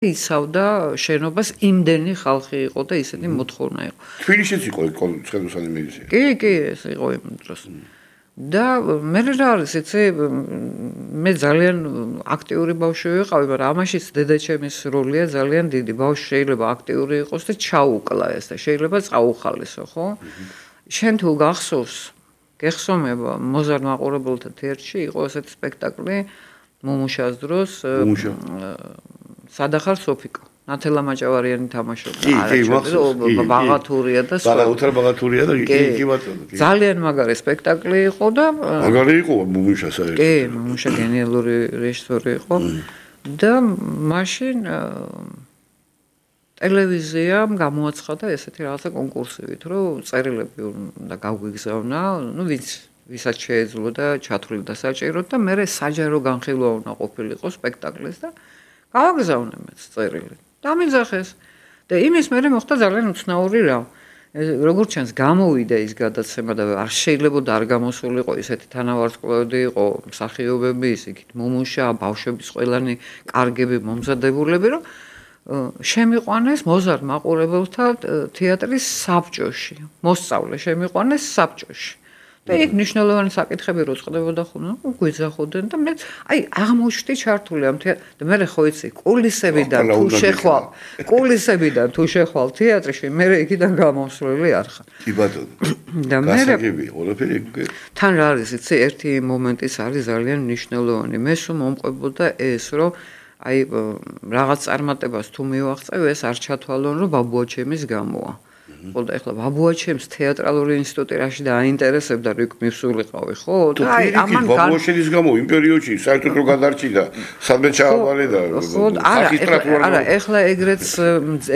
იცავდა შენობას იმდენი ხალხი იყო და ისეთი მოთხოვნა იყო. თბილისშიც იყო ცხენოსანი მილიცია. კი, ეს იყო იმ დროს. და მე რა არის, იცი, მე ძალიან აქტიური ბავშვი ვიყავი, მაგრამ ამაშიც დედაჩემის როლია ძალიან დიდი. ბავშვი შეიძლება აქტიური იყოს და ჩაუკლა ეს და შეიძლება წაუხალისო, ხო? შენ თუ გახსოვს, გეხსოვნება მოზარდ მაყურებელთა თეატრში იყო ესეთი სპექტაკლი მუმუშას დროს სადახარ სოფიკო. ნათელა მაჭავარიანი თამაშობდა. ბაღათურია და ბაღათურია და კი ბატონო. ძალიან მაგარი სპექტაკლი იყო და მაგარი იყო მუმუშა საერთოდ. კი, მუმუშა გენიალური რეჟისორი იყო და მაშინ ტელევიზიამ გამოაცხადა ესეთი რაღაცა კონკურსივით, რომ წერილები უნდა გაგვიგზავნა, ვისაც შეეძლო და ჩათვლიდა საჭიროდ და მე საჯარო განხილვა უნდა ყოფილიყო სპექტაკლის და გავაგზავნე მეც წერილი. დამიძახეს და იმის მერე მოხდა ძალიან უცნაური რა. როგორც ჩანს გამოვიდა ის გადაცემა და არ შეიძლება არ გამოსულიყო ისეთი თანავარსკვლავედი იყო მსახიობები ისიქით მუმუშა, ბავშვების ყველანი კარგები მომზადებულები რომ შემიყვანეს მოზარდ მაყურებელთა თეატრის საბჭოში. მოსწავლე შემიყვანეს საბჭოში. და იქ მნიშვნელოვანი საკითხები რო წყდებოდა ხოლმე, გვიძახოდნენ და მე აღმოჩნდი ჩართული ამ თეატრში და მე ხო იცი, კულისებიდან თუ შეხვალ თეატრში, მე იქიდან გამოსვლელი არ ხარ. კი ბატონო. და მე გასაგები ყველაფერი თან რა არის, იცი, ერთი მომენტიც არის ძალიან მნიშვნელოვანი. მე სულ მომყვებოდა ეს, რომ რაღაც წარმატებას თუ მივაღწევ, ეს არ ჩათვალონ, რომ ბაბუაჩემის გამოა. ხო და ეხლა ბაბუაჩემს თეატრალური ინსტიტუტი რაში დააინტერესებდა, რიქ მივსულიყავი, ხო? და ამან ბაბუაჩემის გამო იმ პერიოდში საერთოდ რო გადარჩიდა, სადმე ჩააბარე და არა, ეხლა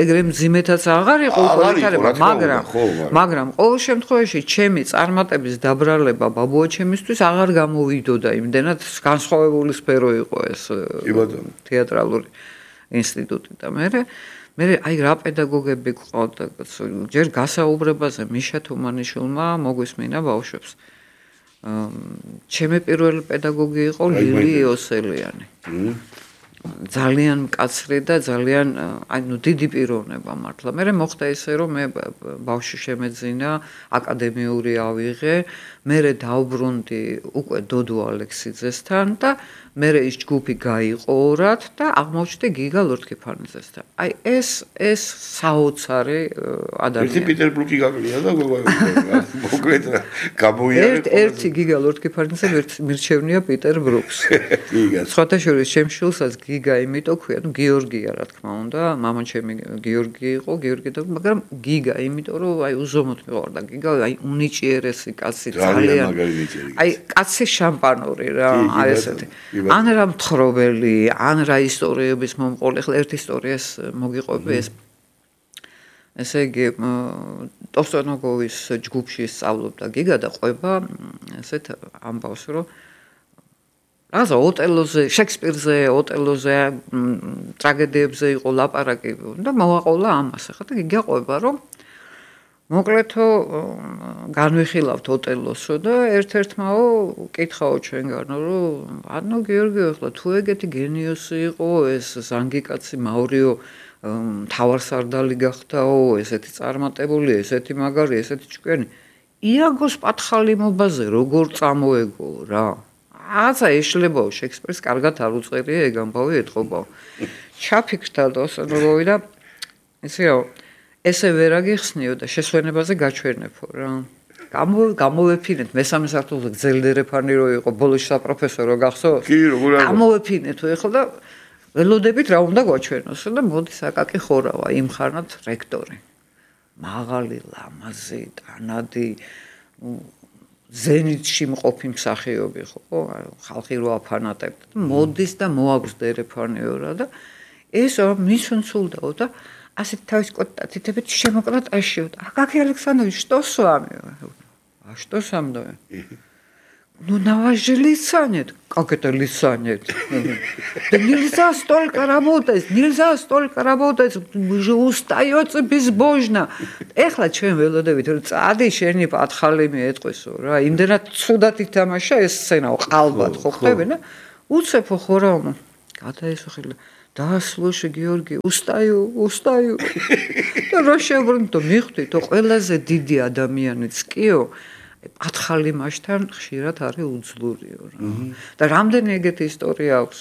ეგრე მძიმეთაც აღარ იყო პოლიტიკა, მაგრამ ყოველ შემთხვევაში ჩემი წარმატების დაბრალება ბაბუაჩემისთვის აღარ გამოვიდოდა იმდენად განსხვავებული სფერო იყო ეს თეატრალური ინსტიტუტი და მე რა პედაგოგები გვყავდა ჯერ გასაუბრებაზე მიშა თუმანიშვილმა მოგვისმინა ბავშვებს. ჩემი პირველი პედაგოგი იყო ლილი იოსელიანი. ძალიან მკაცრი და ძალიან დიდი პიროვნება მართლა. მე მოხდა ისე რომ მე ბავშვი შემეძინა, აკადემიური ავიღე, მე დავბრუნდი უკვე დოდო ალექსიძესთან და მე ის ჯგუფი გაიყორათ და აღმოჩნდი გიგა ლორთქიფანიძესთან. ეს საოცარი ადამიანი. ერთი პეტერბურგი გაგვია და მოკლედ გამოიარე. ერთი გიგა ლორთქიფანიძე მირჩევნია პიტერ ბრუკს. სხვათა შორის შემშულსაც გიგა იმიტომ ქვია, გიორგია რა თქმა უნდა, მამაჩემი გიორგი იყო, მაგრამ გიგა იმიტომ რომ უზომოდ მიყვარდა გიგა, უნიჭიერესი კაცი ძალიან. კაცი შამპანური რა, ესეთი. ან რა მთხრობელი, ან რა ისტორიების მომყოლი, ახლა ერთ ისტორიას მოგიყვები ეს. ესე იგი, ტოსტონოგოვის ჯგუფში სწავლობდა გიგა და ყვება ესეთ ამბავს, რომ რაზა ოტელოზე, შექსპირზე, ოტელოზე, ტრაგედიებზე იყო ლაპარაკი და მოვაყოლა ამას. ახლა და გიგა ყვება, რომ მოკლედო განვიხილავთ ოტელოსო და ერთ-ერთმაო კითხაო ჩვენგანო, რომ გიორგიო, ახლა თუ ეგეთი გენიოსი იყო, ეს ზანგიკაცი მაურიო მთავარსარდალი გახდაო, ესეთი წარმატებული, ესეთი მაგარი, ესეთი ჭკვიანი. იაგოს პათხალიმობაზე როგორ წამოეგო რა. აზა ეშლებაო შექსპირს კარგად არ უწერია ეგ ამბავი ეთყობაო. ჩაფიქრდა ტოსტონოგოვი და ისე რა ესე ვერ აგიხსნიო და შესვენებაზე გაჩვენებო რა. გამოვეფინეთ მესამე სართულზე გძელდერეფანი რო იყო ბოლოში საპროფესორო გახსოვს? კი, როგორ არა. გამოვეფინეთ ეხლა და ველოდებით რა უნდა გაჩვენოს და მოდის აკაკი ხორავა იმ ხანად რექტორი. მაღალი, ლამაზი, ტანადი ზენიტში მყოფი მსახიობი ხო, ხალხი რო აფანატებდა. მოდის და მოაგვზდერეფანიო რა და ეს მის უნცულდაო და ასეთ თავის კოტათითებით შემოკრატაშიო. Акакий Александрович, что с вами? А что со мной? Ну, на вас же лица нет. Как это лица нет? Да нельзя столько работать, вы же устаете безбожно. Ეხლა ჩვენ ველოდებით რომ წადი შენი პათხალი მიეტყვისო რა. იმდენად ცუდად ითამაშა ეს სცენა, ყალბად ხო ხდებინა? უცეფო ხო რა. გადაესახილა დაასრულში გიორგი უსტაიო და რა შევრნდო მიხვდით ყველაზე დიდი ადამიანიც კიო პათხალი მასთან ხშირად არის უძლურიო რა და რამდენი ეგეთი ისტორია აქვს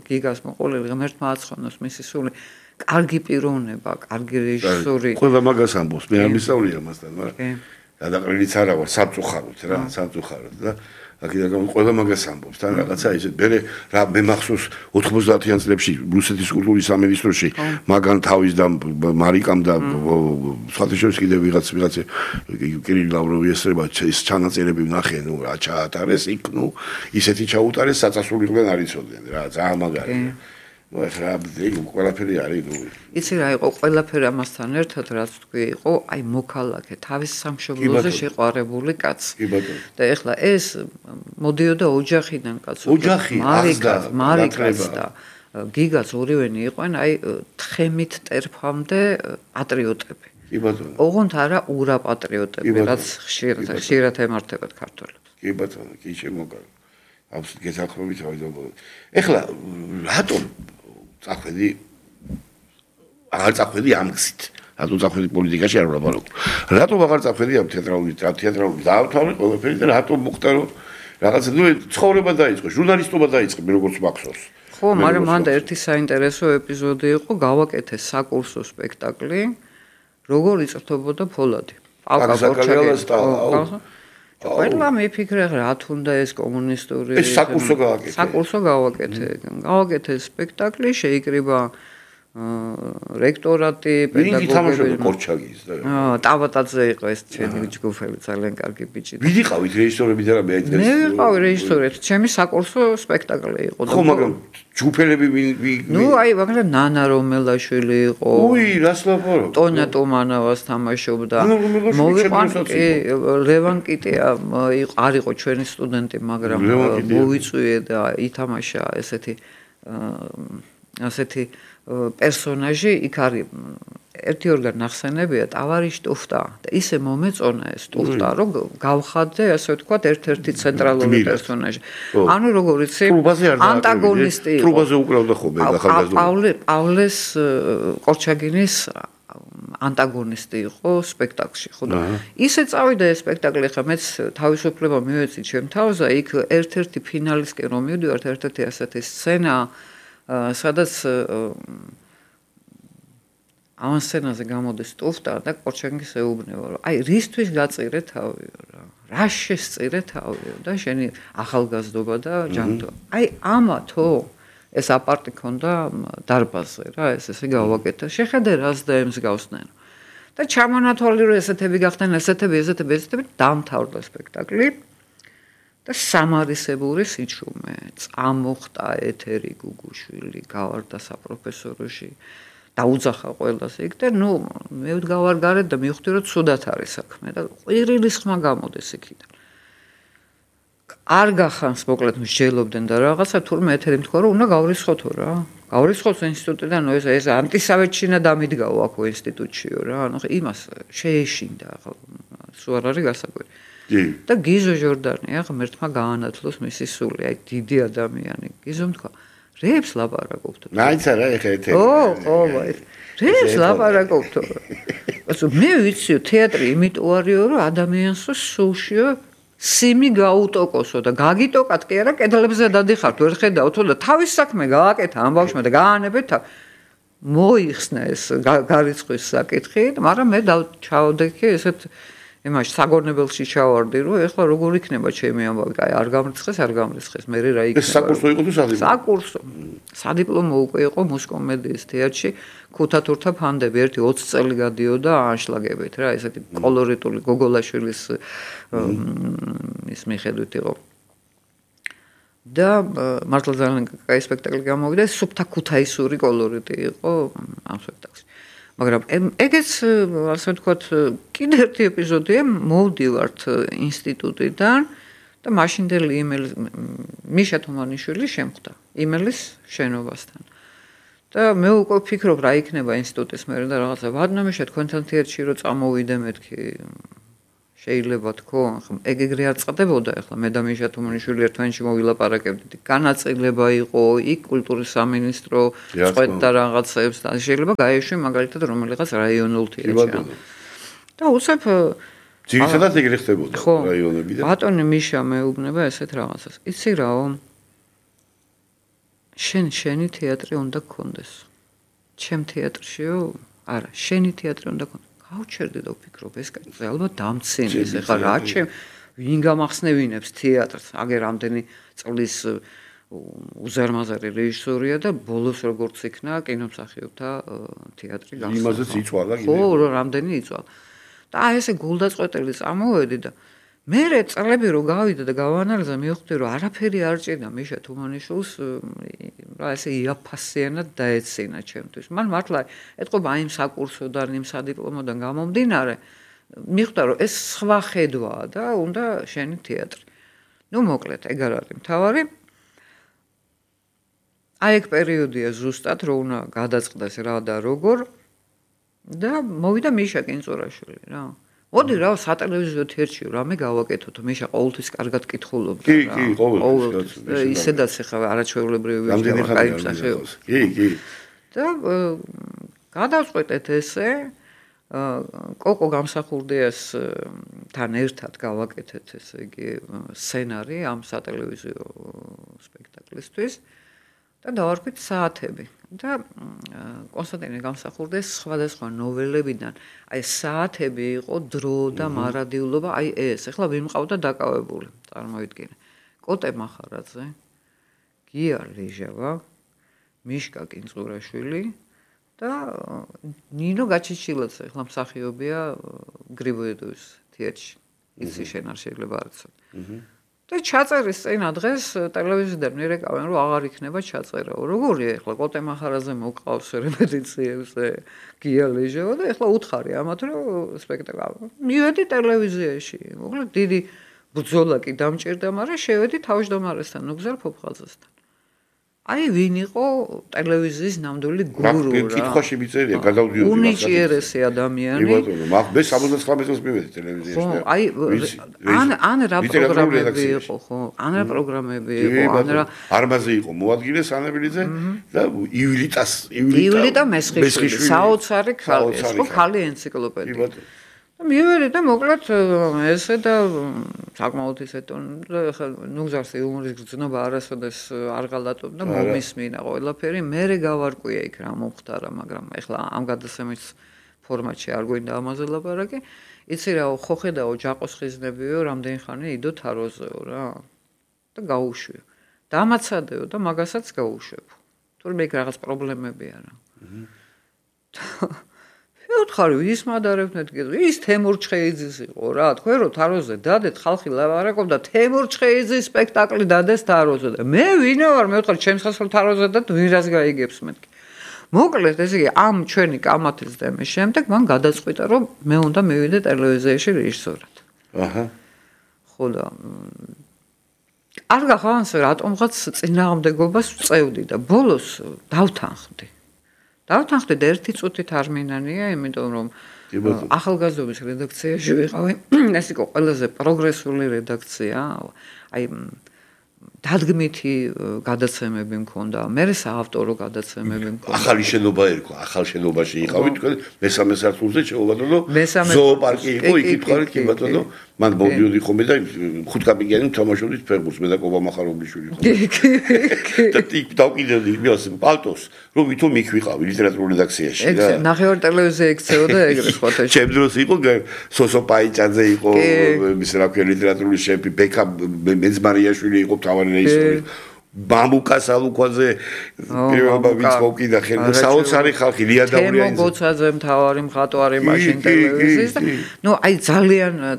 გიგას მოყოლილი ღმერთმა აცხონოს მისი სული კარგი პიროვნება კარგი რეჟისორი ყველა მაგას ამბობს მე არ მისწავლია მასთან მაგრამ გადაყრილიც არა ვარ სამწუხაროდ და აქედან ყველა მაგას ამბობს თან რაღაცა ისე მე მახსოვს 90-იან წლებში რუსეთის კულტურის სამინისტროში მაგან თავის და მარიკამ და სხვადასხვა კიდევ ვიღაცა კირილ ლავროვი ესწრება ეს ჩანაწერები ვნახე რა ჩაატარეს იქ ისეთი ჩაუტარეს საწასულიყვენ არ იცოდნენ რა ძალიან მაგარია ეხლა ყველაფერი არის იცი რა იყო ყველაფერი ამასთან ერთად რაც თქვი იყო აი მოქალაქე თავის სამშობლოზე შეყვარებული კაცი და ეხლა ეს მოდიოდა ოჯახიდან კაცო მარიკაც და გიგაც ორივენი იყვენ აი თხემით ტერფამდე პატრიოტები კი ბატონო ოღონდ არა ურა პატრიოტები რაც ხშირად ემართებათ ქართველებს კი ბატონო კი შემოგარ აბსოლუტურად გეთანხმებით ავიდობ ეხლა რატომ წახვედი აღარ წახვედი ამ გზით რატომ წახვედი პოლიტიკაში არ ვლაპარაკობ რატომ აღარ წახვედი ამ თეატრალური დაავთავრე ყველაფერი და რატომ მოხდა რომ რაღაცა ცხოვრება დაიწყო ჟურნალისტობა დაიწყე მე როგორც მახსოვს ხო მაგრამ მანდა ერთი საინტერესო ეპიზოდი იყო გავაკეთე საკურსო სპექტაკლი როგორ იწრთობოდა ფოლადი პალკა ყველა მიფიქრე რა თუნდა ეს კომუნისტური ეს საკურსო გავაკეთე სპექტაკლი შეიკრიბა რექტორატი პედაგოგები კორჩაგის და ტავატაძე იყო ეს ჩემი ჯგუფელი ძალიან კარგი ბიჭი ვიდი ყავით რეჟისორები და რა მე ვიყავი რეჟისორები ჩემი საკურსო სპექტაკლი იყო ხო მაგრამ ჯგუფელები მაგრამ ნანა რომელაშვილი იყო რას ლაპარაკობ ტონია ტომანავას თამაშობდა მოვიყვანე ლევან კიტია არ იყო ჩვენი სტუდენტი მაგრამ მოვიწვიე და ითამაშა ასეთი პერსონაჟი იქ არის ერთი ორგან ნახსენებია ტავარიშ ტუფტა და ისე მომეწონა ეს ტუფტა რომ გავხადე ასე ვთქვათ ერთ-ერთი ცენტრალური პერსონაჟი ანუ როგორ იცი ანტაგონისტი ტრუბაზე უკრავდა ხოლმე ახალგაზრდა პავლეს კორჩაგინის ანტაგონისტი იყო სპექტაკლში ხო და ისე წავიდა ეს სპექტაკლი ხა მეც თავისუფლება მივეცი ჩემ თავზე იქ ერთ-ერთი ფინალისკენ რომ მივდივართ ერთ-ერთი ასეთი სცენა სადაც ამ სცენაზე გამოდის ტუფტა და კორჩაგინს ეუბნება რომ აი რისთვის გაწირე თავიო რა შესწირე თავიო და შენი ახალგაზრდობა და ჯანმრთელობა აი ამათო ეს აპარტი ქონდა დარბაზზე რა ესე გავაკეთე შეხედე რას და ემსგავსნენ და ჩამონათვალი რომ ესეთები გახდნენ ესეთები დამთავრდა სპექტაკლი და სამარისებური სიჩუმე წამოხტა ეთერი გუგუშვილი გავარდა საპროფესოროში დაუძახა ყველას იქ და მე ვდგავარ გარეთ და მივხვდი რომ ცუდად არის საქმე და ყვირილის ხმა გამოდის იქიდან არ გახანს მოკლედ მსჯელობდნენ და რაღაცა თურმე ეთერი თქვა რომ უნდა გავრიცხოთო რა გავრიცხოთ ინსტიტუტიდან ეს ანტისავეთშინა დამიდგაო აქ ინსტიტუტშიო რა ანუ იმას შეეშინდა სულ არ არის გასაკვირი და გიზო ჟორდანი ღმერთმა გაანათლოს მისი სული აი დიდი ადამიანი გიზომ თქვა რეებს ლაპარაკობთ მაინც არა ეხა ეთერი ხო რეებს ლაპარაკობთ ასე მე ვიციო თეატრი იმიტომ არისო რომ ადამიანსო სულშიო სიმი გაუტოკოსო და გაგიტოკათ კი არა კედლებზე დადიხართ ვერ ხედავთო და თავის საქმე გააკეთა ამ ბავშვმა და გაანებეთ მოიხსნა ეს გარიცხვის საკითხი მაგრამ მე ჩავდექი ესეთ იმაში საგორნებელში ჩავარდი რომ ეხლა როგორ იქნება ჩემი ამბავი კაი არ გამრიცხეს მე რა იქნება ეს საკურსო იყო თუ სადიპლომო საკურსო სადიპლომო უკვე იყო მუსკომედიის თეატრში ქუთათურთა ფანდები ერთი 20 წელი გადიოდა ანშლაგებით რა ესეთი კოლორიტული გოგოლაშვილის ის მიხედვით იყო და მართლა ძალიან კაი სპექტაკლი გამოვიდა სუფთა ქუთაისური კოლორიტი იყო ამ სპექტაკლში მაგრამ ეგეც ასე ვთქვათ კიდე ერთი ეპიზოდია მოვდივართ ინსტიტუტიდან და მაშინდელი იმელის მიშა თუმანიშვილი შემხვდა იმელის შენობასთან და მე უკვე ვფიქრობ რა იქნება ინსტიტუტის მერე და რაღაცა ვადნამიშა თქვენთან თეატრში რომ წამოვიდე მეთქი შეიძლება თქო, ეგრე არ წყდებოდა, ახლა მე და მიშა თუმანიშვილი ერთმანეთში მოვილაპარაკებდით. განაწილება იყო, იქ კულტურის სამინისტრო წყვეტდა რაღაცებს და შეიძლება გაეშვი მაგალითად რომელიღაც რაიონულ თეატრში. და უცებ ძირითადად ეგრე ხდებოდა რაიონებიდან. ბატონი მიშა მეუბნება ესეთ რაღაცას. იცი რაო? შენი თეატრი უნდა გქონდეს. ჩემ თეატრშიო? არა, შენი თეატრი უნდა გქონდეს. გავჩერდი და ვფიქრობ ეს კაცი ალბათ დამცინეს ეხლა რა ჩემ ვინ გამახსნევინებს თეატრს აგერ რამდენი წლის უზარმაზარი რეჟისორია და ბოლოს როგორც იქნა კინომსახიობთა თეატრი გახსნა იმაზეც იწვალა ხო რამდენი იწვალა და აი ესე გულდაწყვეტილი წამოვედი და მე წლები რო გავიდა და გავანალიზა მივხვდი რომ არაფერი არ ჭირდა მიშა თუმანიშვილს რა ესე იაფასიანად დაეცინა ჩემთვის მან მართლა ეთყობა იმ საკურსოდან იმ სადიპლომოდან გამომდინარე მიხვდა რომ ეს სხვა ხედვაა და უნდა შენი თეატრი ნუ მოკლედ ეგ არ არის მთავარი აი ეგ პერიოდია ზუსტად რომ უნდა გადაწყდეს რა და როგორ და მოვიდა მიშა კინწურაშვილი რა მოდი რა სატელევიზიო თეატრში რამე გავაკეთოთ მიშა ყოველთვის კარგად კითხულობდა რა კი ყოველთვის ისედაც ახლა არაჩვეულებრივი ვიჟდება კაი მსახიობს კი და გადავწყვეტეთ ესე კოკო გამსახურდიას თან ერთად გავაკეთეთ ესე იგი სცენარი ამ სატელევიზიო სპექტაკლისთვის და დავარქვით საათები და კონსტანტინე გამსახურდეს სხვადასხვა ნოველებიდან აი საათები იყო დრო და მარადილობა აი ეს ახლა ვინ მყავდა დაკავებული წარმოვიდგინე კოტე მახარაძე გია ლიჟავა მიშკა კინწურაშვილი და ნინო გაჩიჩილაძე ახლა მსახიობია გრიბოედოვის თეატრში იცი შენ არ შეიძლება არ იცოდე და ჩაწერის წინა დღეს ტელევიზიიდან მიერეკავენ რომ აღარ იქნება ჩაწერაო. როგორია ახლა კოტე მახარაძე მოყავს რეპეტიციებზე გია ლიჟავა და ახლა უთხარი ამათ რომ სპექტაკლი. მივედი ტელევიზიაში. მოკლედ დიდი ბრძოლა კი დამჭირდა, მაგრამ შევედი თავმჯდომარესთან, ნუგზარ ფოფხაძესთან. აი ვინ იყო ტელევიზიის ნამდვილი გურუ რა. კითხვაში მიწერია გადავდიოდი. უნიჭიერესი ადამიანი. მე 79 წელს მივედი ტელევიზიაში. ხო, აი ან რა პროგრამები იყო, ხო? ან რა პროგრამები იყო, ან რა არმაზე იყო მოადგილე სანებილიძე და ივლიტა მესხიშვილი, საოცარი ქალი, ხო, ქალი ენციკლოპედია. მივედი და მოკლედ ესე და საკმაოდ ისეთ ხა ნუგზარს იუმორის გრძნობა არასოდეს არ გალატობ და მომისმინა ყველაფერი მე გავარკვია იქ რა მომხდარა მაგრამ ეხლა ამ გადაცემის ფორმატში არ გვინდა ამაზე ლაპარაკი იცი რა ხო ხედაო ჯაყოს ხიზნებიო რამდენი ხანი იდო თაროზეო რა და გაუშვიო დამაცადეო და მაგასაც გაუშვებო თორემ ეგ რაღაც პრობლემებია რა ვთხარი ვის მადარებთ ის თემურ ჩხეიძის იყო რა თქვენ რომ თაროზე დადეთ ხალხი ლაპარაკობდა თემურ ჩხეიძის სპექტაკლი დადეს თაროზე და მე ვინა ვარ მე ვთხარი ჩემს ხალხს თაროზე და ვინ რას გაიგებს მეთქი მოკლედ ესე იგი ამ ჩვენი კამათის დემის შემდეგ მან გადაწყვიტა რომ მე უნდა მივიდე ტელევიზიაში რეჟისორად აჰა ხო და არ გახანს რატომღაც წინააღმდეგობას ვწევდი და ბოლოს დავთანხმდი დავთანხმდი და ერთი წუთით არ მინანია, იმიტომ რომ ახალგაზრდობის რედაქციაში ვიყავი. ეს იყო ყველაზე პროგრესული რედაქცია. აი დადგმითი გადაცემები მქონდა, მე საავტორო გადაცემები მქონდა. ახალი შენობა ერქვა, ახალ შენობაში იყავით თქვენ მესამე სართულზე შეუვადო ზოოპარკი იყო, იქით ხარით კი ბატონო. მან მოვიდოდი ხოლმე და ხუთკაპიკიანი თამაშობდით ფეხბურთს მე და კობა მახარობლიშვილი ხო. და ტიკ დავკიდევდი იმას პალტოს, რომ ვითომ იქ ვიყავი ლიტერატურულ რედაქციაში რა. ეგ ნახევარ ტელევიზია ექცეოდა ეგრე ხოთა. ჩემ დროს იყო სოსო პაიჭაძე იყო, მის რა ქვია ლიტერატურული შეფი, ბექა მეძმარიაშვილი იყო თავარი რეჟისორი. ბამბუკა სალუქვაზე პირველობა ვინც მოვკიდა ხელს საოცარი ხალხი ლიადაურიანი თემო გოცაძე მთავარი მხატვარი მაშინ ტელევიზიის და ნუ აი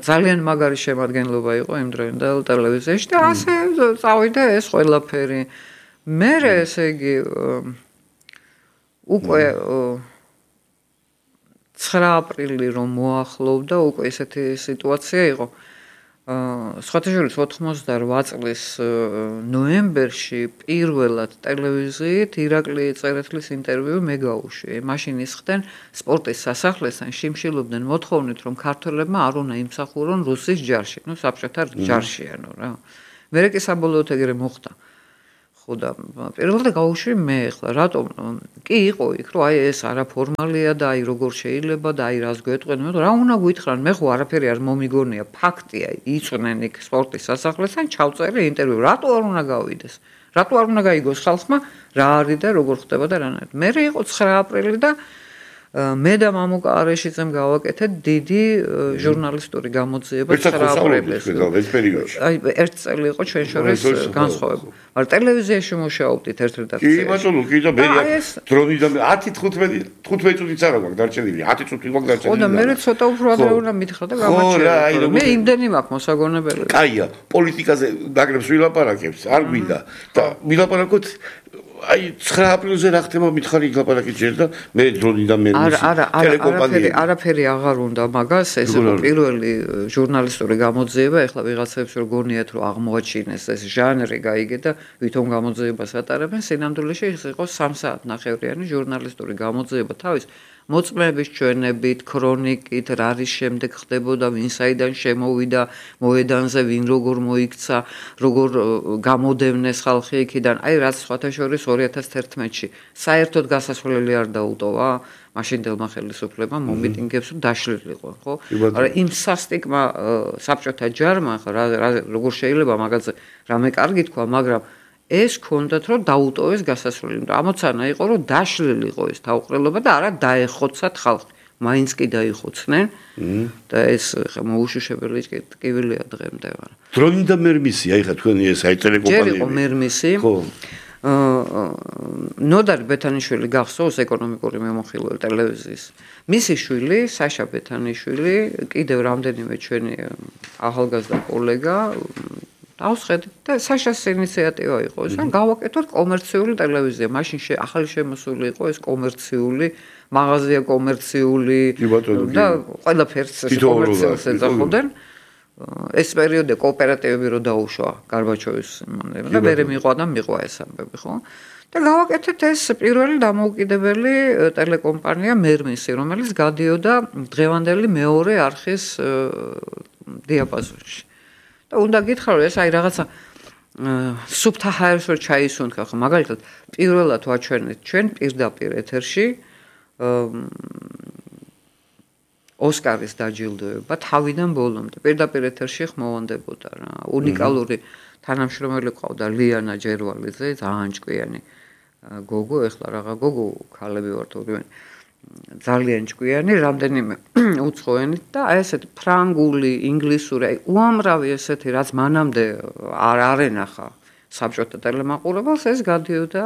ძალიან მაგარი შემადგენლობა იყო იმ დროინდელ ტელევიზიაში და ასე წავიდა ეს ყველაფერი მე ესე იგი უკვე 9 აპრილი რომ მოახლოვდა უკვე ესეთი სიტუაცია იყო სხვათა შორის 88 წლის ნოემბერში პირველად ტელევიზიით ირაკლი წერეთლის ინტერვიუ მე გავუშვი. მაშინ ისხდნენ სპორტის სასახლესთან შიმშილობდნენ მოთხოვნით, რომ ქართველებმა არ უნდა იმსახურონ რუსის ჯარში, საბჭოთა ჯარშიანო რა. მერე კი საბოლოოდ ეგრე მოხდა. ხო და პირველად გავუშვი მე ახლა რატომ კი იყო იქ რომ აი ეს არაფორმალია და აი როგორ შეიძლება და აი რას გვეტყვენ მე რა უნდა გვითხრან მე ხო არაფერი არ მომიგონია ფაქტია იწვნენ იქ სპორტის სასახლესთან ჩავწერე ინტერვიუ რატო არ უნდა გავიდეს რატო არ უნდა გაიგოს ხალხმა რა არის და როგორ ხდება და რანაირად მე იყო 9 აპრილი და მე და მამუკა არეშიძემ გავაკეთეთ დიდი ჟურნალისტური გამოძიება 9 აპრილს. ეს პერიოდში. აი ერთ წელი იყო ჩვენ შორის განსხვავება. მაგრამ ტელევიზიაში მუშაობდით ერთ რედაქციაში. კი ბატონო, კი და მე დრონიდან 10-15 წუთიც არა გვაქვს დარჩენილი. 10 წუთი გვაქვს დარჩენილი. ხო და მე ცოტა უფრო ადრე უნდა მითხრა და გამაჩერე. მე იმდენი მაქვს მოსაგონებელი. კაია, პოლიტიკაზე დაგრებს ვილაპარაკებს, არ გვინდა და ვილაპარაკოთ აი 9 აპრილზე რა ხდება მითხარი გლაპარაკით ჯერ და მე დრონიდან მე არაფერი აღარ უნდა მაგას ეს იყო პირველი ჟურნალისტური გამოძიება ეხლა ვიღაცებს რო გონიათ რომ აღმოაჩინეს ეს ჟანრი გაიგე და ვითომ გამოძიებას ატარებენ სინამდვილეში ეს იყო 3 საათნახევრიანი ჟურნალისტური გამოძიება თავის მოწმეების ჩვენებით, ქრონიკით, რა არის შემდეგ ხდებოდა, ვინ საიდან შემოვიდა, მოედანზე ვინ როგორ მოიქცა, როგორ გამოდევნეს ხალხი იქიდან. აი რაც სხვათა შორის 2011-ში საერთოდ გასასვლელი არ დაუტოვა მაშინდელმა ხელისუფლებმა მომიტინგებს დაშლილიყო, ხო? მაგრამ იმ სასტიკმა საბჭოთა ჯარმა როგორ შეიძლება მაგაზე რამე კარგი თქვა, მაგრამ ეს კონდათ რომ დაუტოვეს გასასვლელი. ამოცანა იყო რომ დაშლილიყო ეს თავყრილობა და არა დაეხოცათ ხალხი. მაინც კი დაიხოცნენ და ეს მოუშუშებელი ტკივილია დღემდე. დრონიდან მერმისი, აი ხა თქვენი ეს აი ტელეკომპანიები. ჯერ იყო მერმისი. ხო. ნოდარ ბეთანიშვილი გახსოვს ეკონომიკური მემოხილველი ტელევიზიის. მისი შვილი, საშა ბეთანიშვილი, კიდევ რამდენიმე ჩვენი ახალგაზრდა კოლეგა ავსხედით და საშას ინიციატივა იყო ეს, რომ გავაკეთოთ კომერციული ტელევიზია. მაშინ ახალი შემოსული იყო ეს კომერციული, მაღაზია კომერციული და ყველაფერს კომერციულს ეძახოდნენ. ეს პერიოდი კოოპერატივები რო დაუშვა გარბაჩოვის და მერე მიყვა ეს ამბები, ხო? და გავაკეთეთ ეს პირველი დამოუკიდებელი ტელეკომპანია მერმისი, რომელიც გადიოდა დღევანდელი მეორე არხის დიაპაზონში. და უნდა გითხრა რომ ეს აი რაღაცა სუფთა ჰაერს რო ჩაისუნთქა ხო მაგალითად პირველად ვაჩვენეთ ჩვენ პირდაპირ ეთერში ოსკარის დაჯილდოება თავიდან ბოლომდე პირდაპირ ეთერში ხმოვანდებოდა რა უნიკალური თანამშრომელი ყავდა ლიანა ჯერვალიძე ძალიან ჭკვიანი გოგო ეხლა რაღა გოგო ქალები ვართ ორივე ძალიან ჭკვიანი, რამდენიმე უცხოენით და აი ესეთი ფრანგული, ინგლისური, აი უამრავი ესეთი რაც მანამდე არ ენახა საბჭოთა ტელემაყურებელს ეს გადიოდა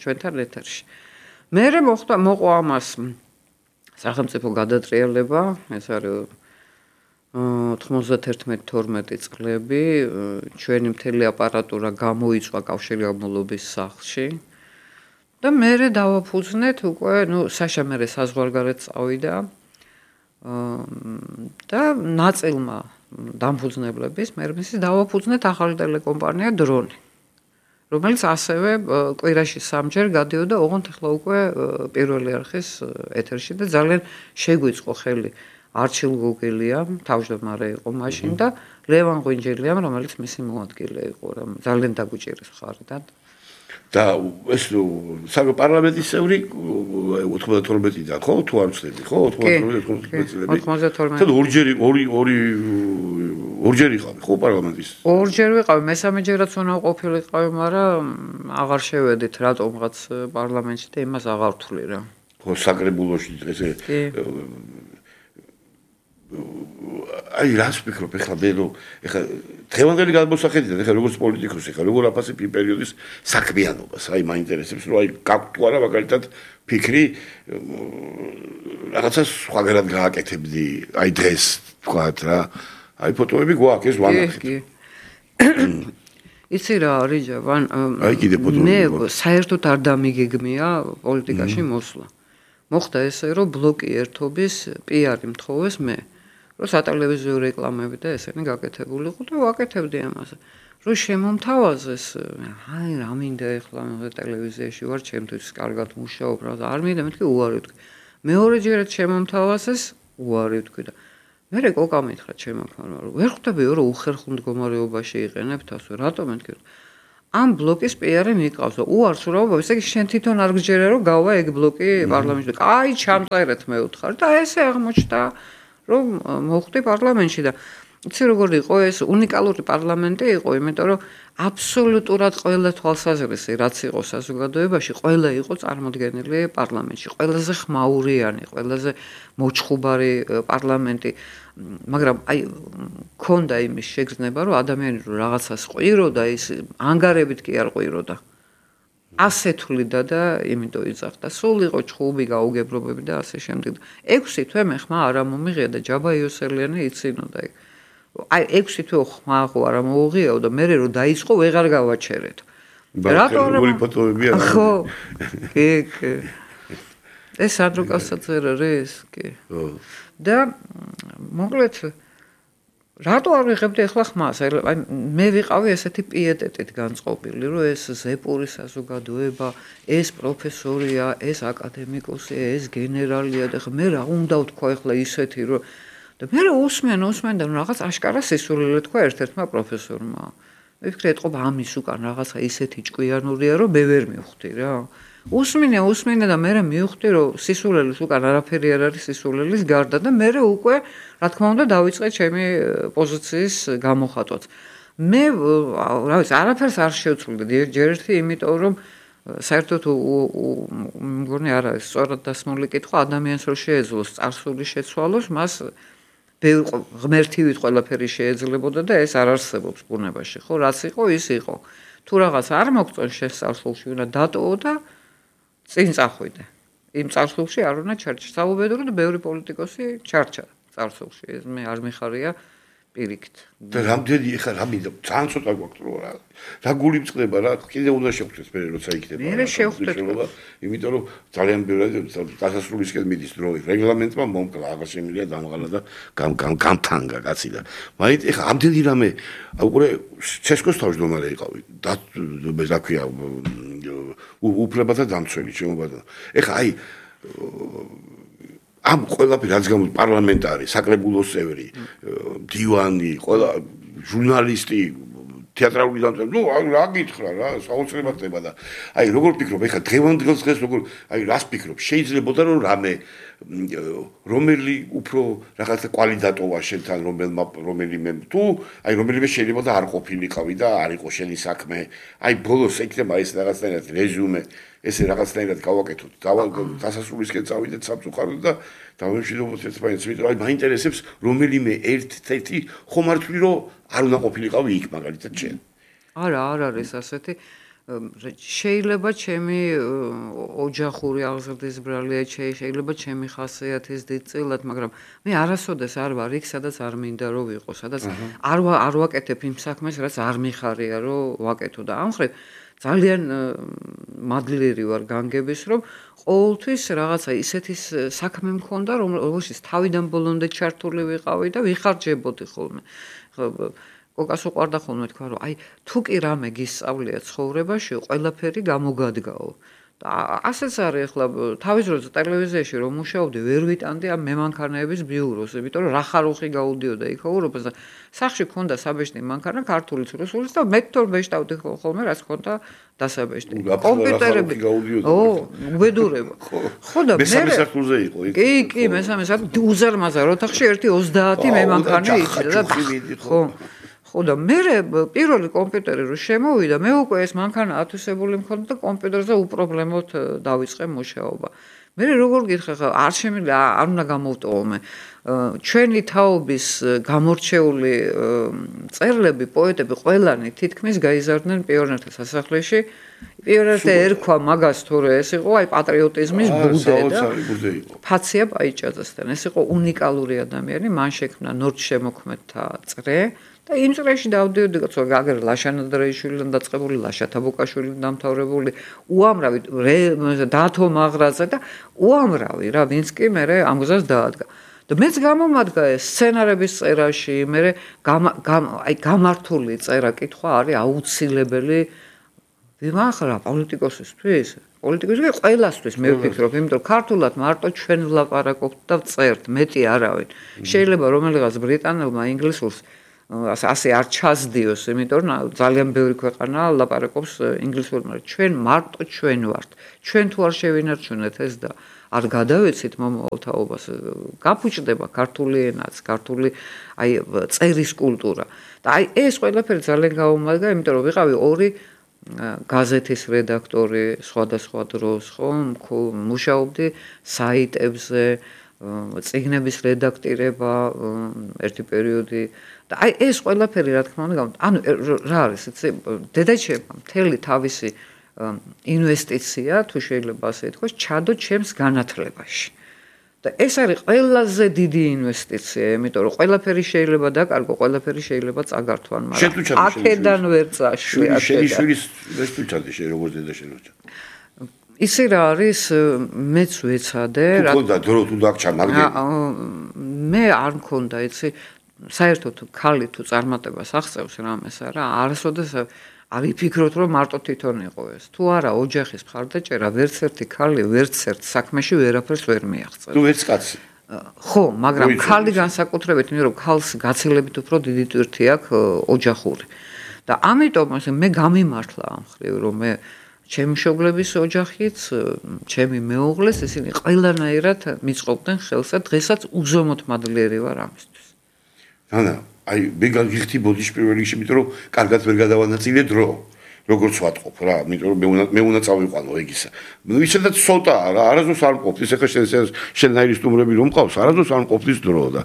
ჩვენთან ეთერში. მერე მოყვა ამას სახელმწიფო გადატრიალება, ეს არის 91-12 წლები, ჩვენი მთელი აპარატურა გამოიწვა კავშირგაბმულობის სახლში. და მერე დავაფუძნეთ უკვე, საშა მერე საზღვარგარეთ წავიდა და ნაწილმა დამფუძნებლების მერმისის დავაფუძნეთ ახალი ტელეკომპანია დრონი, რომელიც ასევე კვირაში 3-ჯერ გადიოდა ოღონდ ახლა უკვე პირველი არხის ეთერში და ძალიან შეგვიწყო ხელი არჩილ გოგელიამ, თავმჯდომარე იყო მაშინ და ლევან ღვინჯელიამ, რომელიც მისი მოადგილე იყო, ძალიან დაგვიჭირეს მხარიდან. და ეს საპარლამენტის წევრი 92-დან ხო თუ არ ვცდები ხო 92 წლები 92 და ორჯერ იყავი ხო პარლამენტის ორჯერ ვიყავი მესამეჯერაც უნდა ყოფილიყავი მაგრამ აღარ შევედით რატომღაც პარლამენტში და იმას აღარ ვთვლი რა ხო საკრებულოში ესე აი რას ვფიქრობ ეხლა ბელო ეხლა დღევანდელი გადმოსახედიდან ეხლა როგორც პოლიტიკოსი ეხლა როგორ აფასებ იმ პერიოდის საქმიანობას აი მაინტერესებს რომ აი გაქვთ თუ არა მაგალითად ფიქრი რაღაცა სხვაგანად გააკეთებდი აი დღეს თქვათ რა აი ფოტოები გვაქვს ეს ვანახეთ იცი რა არის ჯავან მე საერთოდ არ დამიგეგმია პოლიტიკაში მოსვლა მოხდა ესე რომ ბლოკი ერთობის პიარი მთხოვეს მე რომ სატელევიზიო რეკლამები და ესენი გაკეთებული იყო და ვაკეთებდი ამაზე. რომ შემომთავაზეს, აი რა მინდა ეხლა მე ტელევიზიაში ვარ, ჩემთვის კარგად მუშაობ, რა არ მინდა მეთქი უარი ვთქვი. მეორეჯერაც შემომთავაზეს, უარი ვთქვი და მე კოკა მითხრა ჩემო ფარმა, რომ ვერ ხვდებიო რომ უხერხულ მდგომარეობაში იყენებ თავს, რატომ მეთქი? ამ ბლოკის პიარი მიყავს და უარს ვრავა, ესე იგი შენ თვითონ არ გჯერა რომ გავა ეგ ბლოკი პარლამენტში. აი ჩამწერეთ მე ვთხარ და ესე აღმოჩნდა რომ მოხვდი პარლამენტში და იცი როგორ იყო ეს უნიკალური პარლამენტი იყო, იმიტომ რომ აბსოლუტურად ყველა თვალსაზრისი რაც იყო საზოგადოებაში, ყველა იყო წარმოდგენილი პარლამენტში. ყველაზე ხმაურიანი, ყველაზე მოჩხუბარი პარლამენტი, მაგრამ აი ქონდა იმის შეგრძნება, რომ ადამიანი რომ რაღაცას ყვიროდა, ის ანგარებით კი არ ყვიროდა. ასეთვლიდა და იმიტომ იძახდა. სულ იყო ჩხუბი, გაუგებრობები და ასე შემდეგ. 6 თვე მე ხმა არ მომიღია და ჯაბა იოსელიანი იცინოდა ეგ. აი 6 თვე ხმა ხო არ მოუღიაო და მე რომ დაიწყო ვეღარ გავაჩერეთ. რატო როგორი ფოტოები არა? ხო. კი. ეს ადროკასაც არის, კი. და მოკლედ რატო არ ვიღებდი ახლა ხმას? აი მე ვიყავი ესეთი პიეტეტით განწყობილი, რომ ეს ზეპური საზოგადოება, ეს პროფესორია, ეს აკადემიკოსი, ეს გენერალია და მე რა უნდა ვთქვა ახლა ისეთი, რომ და მე უსმენ და რაღაც აშკარა სისულელე თქვა ერთ-ერთმა პროფესორმა. მე ვფიქრე ეთყობა ამის უკან რაღაცა ისეთი ჭკვიანურია, რომ მე ვერ მივხვდი რა. უსმინე და მე მივხვდი, რომ სისულელის უკან არაფერი არ არის სისულელის გარდა და მე უკვე რა თქმა უნდა დავიწყე ჩემი პოზიციის გამოხატვაც. მე რა ვიცი, არაფერს არ შევცვლიდი ჯერ ერთი, იმიტომ რომ საერთოდ მგონი არ არის სწორად დასმული კითხვა, ადამიანს რო შეეძლოს წარსული შეცვალოს, მას ღმერთივით ყველაფერი შეეძლებოდა და ეს არ არსებობს ბუნებაში, ხო? რაც იყო, ის იყო. თუ რაღაც არ მოგწონს შესწავლში, უნდა დატოვო და წინ წახვიდე. იმ წარსულში არ უნდა ჩარჩა. საუბედური და ბევრი პოლიტიკოსი ჩარჩა წარსულში. ეს მე არ მიხარია პირიქით. და რამდენი ეხა რა მინდა ძალიან ცოტა გვაქვს რა გული მწყდება რა კიდე უნდა შევხვდეს მე როცა იქნება. მე შევხვდეთ. იმიტომ რომ ძალიან ბევრი დასასრულისკენ მიდის დრო. რეგლამენტმა მომკლა, აღარ შემიძლია დამღალა და გამთანგა კაცი და მაინც ეხა ამდენი რამე უკვე ცესკოს თავმჯდომარე იყავი. და ქვია უფლებათა დამცველი შემობადა. ეხა აი ამ ყველაფერი რაც გამოდის პარლამენტარი, საკრებულოს წევრი, დივანი, ყველა ჟურნალისტი, თეატრალური დამწერლობი, ნუ რა გითხრა რა, საოცრებად ხდება და აი როგორ ფიქრობ, ეხლა დღევანდელ დღეს როგორ აი რას ფიქრობ, შეიძლებოდა რომ რამე რომელი უფრო რაღაცა კვალიდატოვა შენთან რომელიმე თუ აი რომელიმე შეიძლება და არ ყოფილიყავი და არ იყო შენი საქმე, აი ბოლოს ექნება ეს რაღაცნაირად რეზუმე ესე რაღაცნაირად გავაკეთოთ. დასასრულისკენ წავიდეთ სამწუხაროდ და დავემშვიდობოთ ერთმანეთს, იმიტომ რომ მაინტერესებს რომელიმე ერთ-ერთი ხომ არ თქვი რომ არ უნდა ყოფილიყავი იქ მაგალითად შენ. არა, არ არის ასეთი. შეიძლება ჩემი ოჯახური აღზრდის ბრალია, შეიძლება ჩემი ხასიათის დიდწილად, მაგრამ მე არასოდეს არ ვარ იქ, სადაც არ მინდა რომ ვიყო, სადაც არ ვაკეთებ იმ საქმეს, რაც არ მიხარია რომ ვაკეთო და ამ ხრივ ძალიან მადლიერი ვარ განგების, რომ ყოველთვის რაღაცა ისეთის საქმე მქონდა, რომელშიც თავიდან ბოლომდე ჩართული ვიყავი და ვიხარჯებოდი ხოლმე. კოკას უყვარდა ხოლმე თქვა, რომ აი თუ კი რამე გისწავლია ცხოვრებაში, ყველაფერი გამოგადგაო. და ასეც არის ახლა თავის დროზე ტელევიზიაში რომ მუშაობდი, ვერ ვიტანდი ამ მემანქანეების ბიუროს, იმიტომ რომ რახარუხი გაუდიოდა იქ ევროპას და სახში ქონდა საბეჭდი მანქანა ქართულიც რუსულიც და მე თორ ბეჭდავდი ხოლმე რაც ქონდა დასაბეჭდი. კომპიუტერები ო, უბედურება. ხო და მესამე სართულზე იყო იქ. კი, მესამე სართულზე უზარმაზარ ოთახში ერთი 30 მემანქანე იჭდა და ხო. ხო და მე პირველი კომპიუტერი რო შემოვიდა, მე უკვე ეს მანქანა ათვისებული მქონდა და კომპიუტერზე უპრობლემოდ დავიწყე მუშაობა. მე როგორ გითხრა, არ შემიძლია, არ უნდა გამოვტოვო მე. ჩვენი თაობის გამორჩეული წერლები, პოეტები ყველანი თითქმის გაიზარდნენ პიონერთა სასახლეში. პიონერთა ერქვა მაგას თორე ეს იყო აი პატრიოტიზმის ბუდე და ფაცია პაიჭაძესთან. ეს იყო უნიკალური ადამიანი, მან შექმნა ნორჩშემოქმედთა წრე. და იმ წრეში დავდიოდი, გაგერ ლაშანადრეიშვილიდან დაწყებული, ლაშა თაბუკაშვილიდან დამთავრებული, უამრავი დათო მაღრაძე და უამრავი რა, ვინც კი მე ამგზას დაადგა. და მეც გამომადგა ეს სცენარების წერაში, მე გამართული წერა კითხვა არის აუცილებელი ვიმახრა პოლიტიკოსისთვის. პოლიტიკოსი ყველასთვის მე ვფიქრობ, იმიტომ რომ ქართულად მარტო ჩვენ ვლაპარაკობთ და ვწერთ, მეტი არავინ. შეიძლება რომელიღაც ბრიტანელმა ინგლისურს ასე არ ჩასდიოს, იმიტომ რომ ძალიან ბევრი ქვეყანა ლაპარაკობს ინგლისურად, მაგრამ ჩვენ მარტო ჩვენ ვართ. ჩვენ თუ არ შევინარჩუნეთ ეს და არ გადავეცით მომავალ თაობას, გაფუჭდება ქართული ენაც, ქართული წერის კულტურა. და ეს ყველაფერი ძალიან გაუმადგა, იმიტომ რომ ვიყავი ორი გაზეთის რედაქტორი სხვადასხვა დროს, ხო, მუშაობდი საიტებზე, წიგნების რედაქტირება ერთი პერიოდი და ეს ყველაფერი რა თქმა უნდა, ანუ რა არის, იცი, დედაჩემ მთელი თავისი ინვესტიცია, თუ შეიძლება ასე ითქვას, ჩადო ჩემს განათლებაში. და ეს არის ყველაზე დიდი ინვესტიცია, იმიტომ რომ ყველაფერი შეიძლება დაკარგო, ყველაფერი შეიძლება წაგართვან, მაგრამ აქედან ვერ წაშვი. შენი შვილის ეს თუ ჩადე შენ როგორც დედა შენოჩა. ისი რა არის, მეც ვეცადე, რა თქმა დრო თუ დაგჭა, მაგრამ მე არ მქონდა, იცი, საერთოდ ქალი თუ წარმატებას აღწევს რამეს არა, არასოდეს არ იფიქროთ რომ მარტო თვითონ იყო ეს. თუ არა ოჯახის მხარდაჭერა ვერც ერთი ქალი ვერც ერთ საქმეში ვერაფერს ვერ მიაღწევს. თუ ვერც კაცი. ხო, მაგრამ ქალი განსაკუთრებით, იმიტომ რომ ქალს გაცილებით უფრო დიდი ტვირთი აქვს ოჯახური. და ამიტომ მე გამიმართლა ამ ხრივ რომ მე ჩემი მშობლების ოჯახიც, ჩემი მეუღლეს ისინი ყველანაირად მიწყობდნენ ხელს და დღესაც უზომოდ მადლიერი ვარ ამისთვის. ანა აი მე გიხდი ბოდიში პირველ რიგში, იმიტომ რომ კარგად ვერ გადავანაწილე დრო. როგორც ვატყობ რა, იმიტომ რომ მე უნდა წავიყვანო ეგისა. ისედაც ცოტაა რა, არასდროს არ მყოფს, ეხლა შენნაირი სტუმრები რომ მყავს, არასდროს არ მყოფს დრო და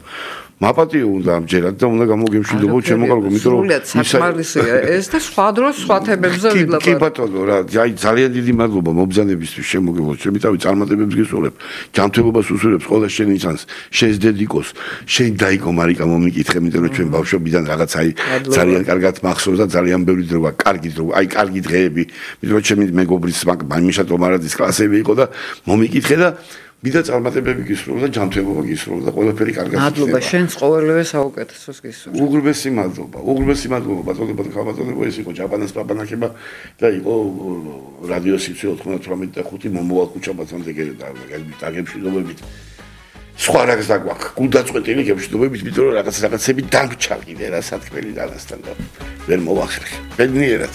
მაპატიო უნდა ამჯერად და უნდა გამოგემშვიდობო ჩემო კარგო, იმიტომ რომ საკმარისია ეს და სხვა დროს სხვა თემებზე ვილაპარაკო. კი ბატონო რა, აი ძალიან დიდი მადლობა მობრძანებისთვის შემოგებო, ჩემი თავი წარმატებებს გისურვებ, ჯანმრთელობას უსურვებს ყველა შენი ჩანს, შენს დედიკოს, შენ დაიკო მარიკა მომიკითხე, იმიტომ რომ ჩვენ ბავშვობიდან რაღაც აი ძალიან კარგად მახსოვს და ძალიან ბევრი დრო გაქვს, კარგი დრო, აი კარგი დღეები, იმიტომ რომ ჩემი მეგობრის მაშა ტომარაძის კლასები იყო და მომიკითხე და მიდა წარმატებები გისურვებ და ჯანმრთელობა გისურვებ და ყველაფერი კარგად იქნება. მადლობა, შენს ყოველივე საუკეთესოს გისურვებ. უღრმესი მადლობა, ბატონებო, ხალბატონებო, ეს იყო ჯაპანას პაპანახება და იყო რადიო სიცხე 98.5 მომოვალ ქუჩა ბათუმზე დაგემშვიდობებით. სხვა რაღაც დაგვაქვს, გულდაწყვეტილი გემშვიდობებით, იმიტომ რომ რაღაცები დამჭა კიდე რა სათქმელი დანასთან და ვერ მოვახერხე. ბედნიერად.